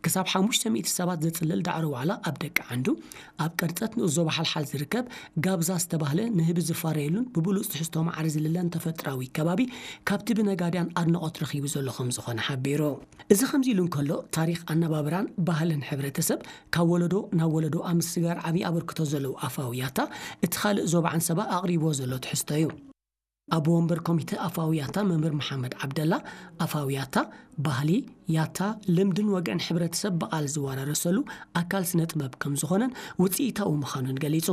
ክሳብ ሓሙሽተ ሚእቲ ሰባት ዘጽልል ዳዕሮ ዋዕላ ኣብ ደቂ ዓንዱ፣ ኣብ ቅርጸት ንኡስ ዞባ ሓልሓል ዝርከብ ጋብዛ ዝተባህለ ንህቢ ዝፋረየሉን ብብሉጽ ትሕዝቶ ማዕረ ዝልለን ተፈጥራዊ ከባቢ ካብቲ ብነጋድያን ኣድናቖት ረኺቡ ዘሎ ከም ዝኾነ ሓቢሩ። እዚ ከምዚ ኢሉ እንከሎ፣ ታሪኽ ኣነባብራን ባህልን ሕብረተሰብ ካብ ወለዶ ናብ ወለዶ ኣብ ምስግጋር ዓብዪ ኣበርክቶ ዘለዎ ኣፋዊ ያታ፣ እቲ ካልእ ዞባ ዓንሰባ ኣቕሪብዎ ዘሎ ትሕዝቶ እዩ። ኣቦ ወንበር ኮሚተ ኣፋዊ ያታ መምህር መሓመድ ዓብደላ፣ ኣፋዊ ያታ፣ ባህሊ፣ ያታ፣ ልምድን ወግዕን ሕብረተሰብ ብቓል ዝወራረሰሉ ኣካል ስነ ጥበብ ከም ዝኾነን ውፅኢታዊ ምዃኑን ገሊጹ።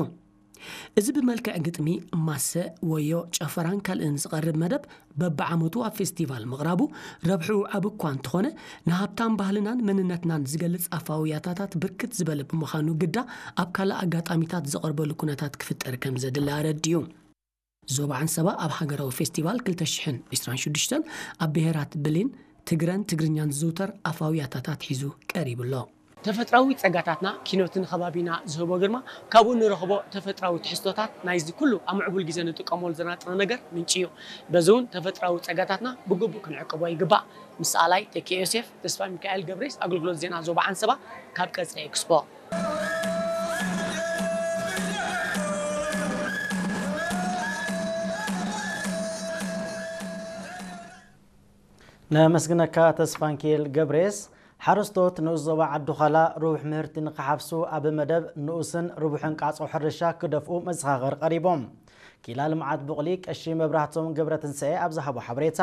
እዚ ብመልክዕ ግጥሚ፣ ማሰ፣ ወዮ፣ ጨፈራን ካልእን ዝቐርብ መደብ በብዓመቱ ኣብ ፌስቲቫል ምቕራቡ ረብሕኡ ዓቢ እኳ እንተኾነ፣ ንሃብታም ባህልናን መንነትናን ዝገልጽ ኣፋዊ ያታታት ብርክት ዝበለ ብምዃኑ ግዳ ኣብ ካልእ ኣጋጣሚታት ዝቐርበሉ ኩነታት ክፍጠር ከም ዘድሊ ኣረዲኡ። ዞባ ዓንሰባ ኣብ ሃገራዊ ፌስቲቫል ክልተ ሽሕን ዕስራን ሽዱሽተን ኣብ ብሄራት ብሌን፣ ትግረን ትግርኛን ዝዝውተር ኣፋዊ ያታታት ሒዙ ቀሪቡ ኣሎ። ተፈጥራዊ ጸጋታትና፣ ኪኖትን ከባቢና ዝህቦ ግርማ፣ ካብኡ ንረኽቦ ተፈጥራዊ ትሕዝቶታት ናይዚ ኩሉ ኣብ ምዕቡል ግዜ ንጥቀመሉ ዘለና ጥረ ነገር ምንጪ እዩ። በዚ እውን ተፈጥራዊ ጸጋታትና ብግቡእ ክንዕቅቦ ይግባእ። ምስ ኣላይ ተኪኤ ዮሴፍ፣ ተስፋ ሚካኤል ገብሬስ፣ ኣገልግሎት ዜና ዞባ ዓንሰባ ካብ ቀጽሪ ኤክስፖ። ነመስግነካ ተስፋንኪኤል ገብሬስ። ሓረስቶት ንኡስ ዞባ ዓዲ ዃላ ርቡሕ ምህርቲ ንክሓፍሱ ኣብ መደብ ንኡስን ርቡሕን ቃጾ ሕርሻ ክደፍኡ መዘኻኸር ቀሪቦም። ኪላ ልምዓት ቡቕሊ ቀሺ መብራህቶም ገብረትንሳኤ ኣብ ዝሃቦ ሓበሬታ፣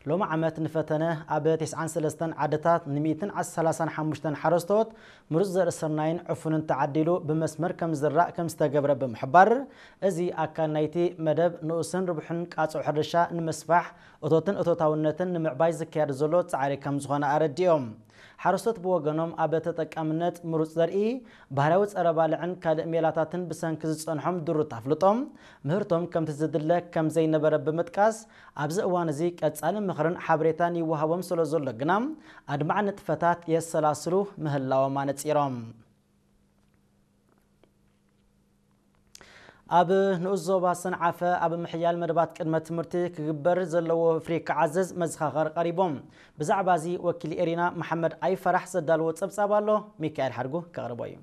ሎሚ ዓመት ንፈተነ ኣብ ተስዓን ሰለስተን ዓድታት ን ሚእትን ሰላሳን ሓሙሽተን ሓረስቶት ምሩፅ ዘርኢ ስርናይን ዕፉንን ተዓዲሉ ብመስመር ከም ዝዘራእ ከም ዝተገብረ ብምሕባር፣ እዚ ኣካል ናይቲ መደብ ንኡስን ርቡሕን ቃጾ ሕርሻ ንምስፋሕ እቶትን እቶታውነትን ንምዕባይ ዝካየድ ዘሎ ጻዕሪ ከም ዝኾነ ኣረዲኦም። ሓረስቶት ብወገኖም ኣብ ተጠቃምነት ምሩፅ ዘርኢ፣ ባህላዊ ጸረ ባልዕን ካልእ ሜላታትን ብሰንኪ ዝጸንሖም ድሩት ኣፍልጦም ምህርቶም ከምቲ ዝድለ ከም ዘይነበረ ብምጥቃስ፣ ኣብዚ እዋን እዚ ቀጻሊ ምኽርን ሓበሬታን ይወሃቦም ስለ ዘሎ ግና ኣድማዒ ንጥፈታት የሰላስሉ ምህላዎም ኣነጺሮም። ኣብ ንኡስ ዞባ ሰንዓፈ ኣብ ምሕያል መደባት ቅድመ ትምህርቲ ክግበር ዘለዎ ወፍሪ ክዓዘዝ መዘኻኸር ቀሪቦም። ብዛዕባ እዚ ወኪል ኤሪና መሓመድ ኣይፈራሕ ዘዳልዎ ጸብጻብ ኣሎ፣ ሚካኤል ሓድጉ ከቕርቦ እዩ።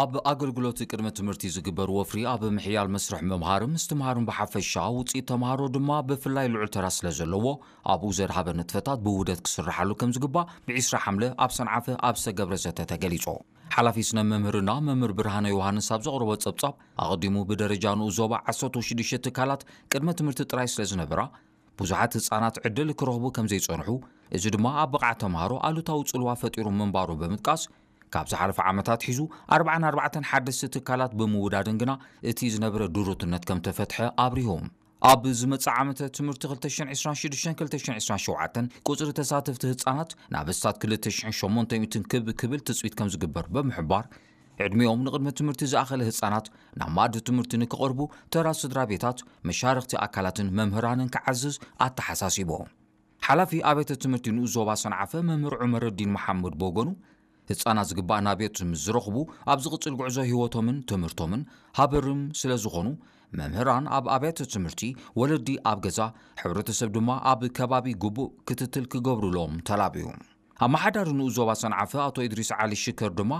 ኣብ ኣገልግሎት ቅድመ ትምህርቲ ዝግበር ወፍሪ ኣብ ምሕያል መስርሕ ምምሃርን ምስትምሃርን ብሓፈሻ ውፅኢት ተምሃሮ ድማ ብፍላይ ልዑል ተራ ስለ ዘለዎ ኣብኡ ዘድሃበ ንጥፈታት ብውህደት ክስርሓሉ ከም ዝግባእ ብዒስራ ሓምለ ኣብ ሰንዓፈ ኣብ ዝተገብረ ዘተ ተገሊጹ። ሓላፊ ስነ መምህርና መምህር ብርሃነ ዮሃንስ ኣብ ዘቕረቦ ጸብጻብ ኣቐዲሙ ብደረጃ ንኡስ ዞባ ዓሰርተ ሽዱሽተ ትካላት ቅድመ ትምህርቲ ጥራይ ስለ ዝነበራ ብዙሓት ህጻናት ዕድል ክረኽቡ ከም ዘይጸንሑ፣ እዚ ድማ ኣብ ብቕዓት ተምሃሮ ኣሉታዊ ጽልዋ ፈጢሩ ምንባሩ ብምጥቃስ፣ ካብ ዝሓለፈ ዓመታት ሒዙ ኣርባዓን ኣርባዕተን ሓደስቲ ትካላት ብምውዳድን ግና እቲ ዝነበረ ድሩትነት ከም ተፈትሐ ኣብሪሁ። ኣብ ዝመጽእ ዓመተ ትምህርቲ ክልተ ሽሕን ዕስራን ሽዱሽተን ክልተ ሽሕን ዕስራን ሸውዓተን ቁጽሪ ተሳተፍቲ ህጻናት ናብ ኣስታት ክልተ ሽሕን ሸሞንተ ሚእትን ክብ ክብል ትጽቢት ከም ዝግበር ብምሕባር፣ ዕድሚኦም ንቕድመ ትምህርቲ ዝኣኸለ ህጻናት ናብ መኣዲ ትምህርቲ ንክቐርቡ ተራ ስድራ ቤታት፣ መሻርኽቲ ኣካላትን መምህራንን ክዓዝዝ ኣተሓሳሲቡ። ሓላፊ ኣብያተ ትምህርቲ ንኡስ ዞባ ሰንዓፈ መምህር ዑመረዲን መሓሙድ ብወገኑ፣ ህጻናት ዝግባእ ናብዮት ምስ ዝረኽቡ ኣብ ዝቕጽል ጉዕዞ ህይወቶምን ትምህርቶምን ሃበርም ስለ ዝኾኑ፣ መምህራን ኣብ ኣብያተ ትምህርቲ፣ ወለዲ ኣብ ገዛ፣ ሕብረተሰብ ድማ ኣብ ከባቢ ግቡእ ክትትል ክገብሩሎም ተላብዩ። ኣመሓዳሪ ንኡስ ዞባ ሰንዓፈ ኣቶ ኢድሪስ ዓሊ ሽከር ድማ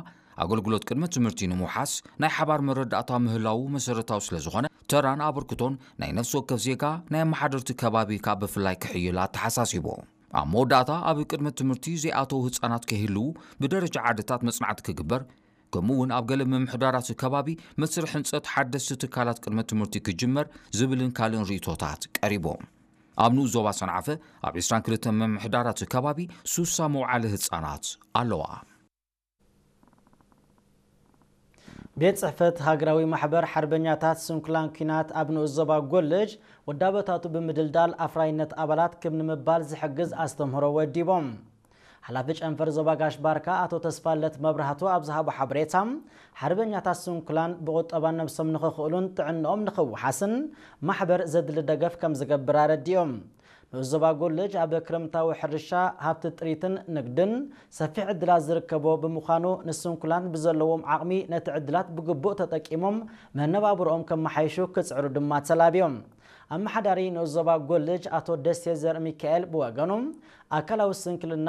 ኣገልግሎት ቅድመ ትምህርቲ ንምውሓስ ናይ ሓባር መረዳእታ ምህላዉ መሰረታዊ ስለ ዝኾነ፣ ተራን ኣበርክቶን ናይ ነፍሲ ወከፍ ዜጋ ናይ ኣመሓደርቲ ከባቢ ካብ ብፍላይ ክሕይል ኣተሓሳሲቡ። ኣብ መወዳእታ ኣብ ቅድመ ትምህርቲ ዘይኣተዉ ህጻናት ከይህልዉ ብደረጃ ዓድታት መጽናዕቲ ክግበር፣ ከምኡ እውን ኣብ ገለ ምምሕዳራት ከባቢ መስርሕ ህንጸት ሓደስቲ ትካላት ቅድመ ትምህርቲ ክጅመር ዝብልን ካልእን ርእይቶታት ቀሪቡ። ኣብ ንኡስ ዞባ ሰንዓፈ ኣብ ዕስራን ክልተን ምምሕዳራት ከባቢ ሱሳ መውዓሊ ህጻናት ኣለዋ። ቤት ጽሕፈት ሃገራዊ ማሕበር ሓርበኛታት ስንኩላን ኲናት ኣብ ንኡስ ዞባ ጎልጅ ወዳበታቱ ብምድልዳል ኣፍራይነት ኣባላት ክብ ንምባል ዝሕግዝ ኣስተምህሮ ወዲቦም። ሓላፊ ጨንፈር ዞባ ጋሽ ባርካ ኣቶ ተስፋለት መብራህቱ ኣብ ዝሃቦ ሓበሬታ፣ ሓርበኛታት ስንኩላን ብቑጠባ ነብሶም ንኽኽእሉን ጥዕንኦም ንኽውሓስን ማሕበር ዘድሊ ደገፍ ከም ዝገብር ኣረዲኦም። ንኡስ ዞባ ጎልጅ ኣብ ክረምታዊ ሕርሻ፣ ሃብቲ ጥሪትን ንግድን ሰፊሕ ዕድላት ዝርከቦ ብምዃኑ፣ ንስንኩላን ብዘለዎም ዓቕሚ ነቲ ዕድላት ብግቡእ ተጠቂሞም መነባብሮኦም ከመሓይሹ ክጽዕሩ ድማ ተላብዮም። ኣመሓዳሪ ንኡስ ዞባ ጎልጅ ኣቶ ደሴ ዘርእ ሚካኤል ብወገኑ፣ ኣካላዊ ስንክልና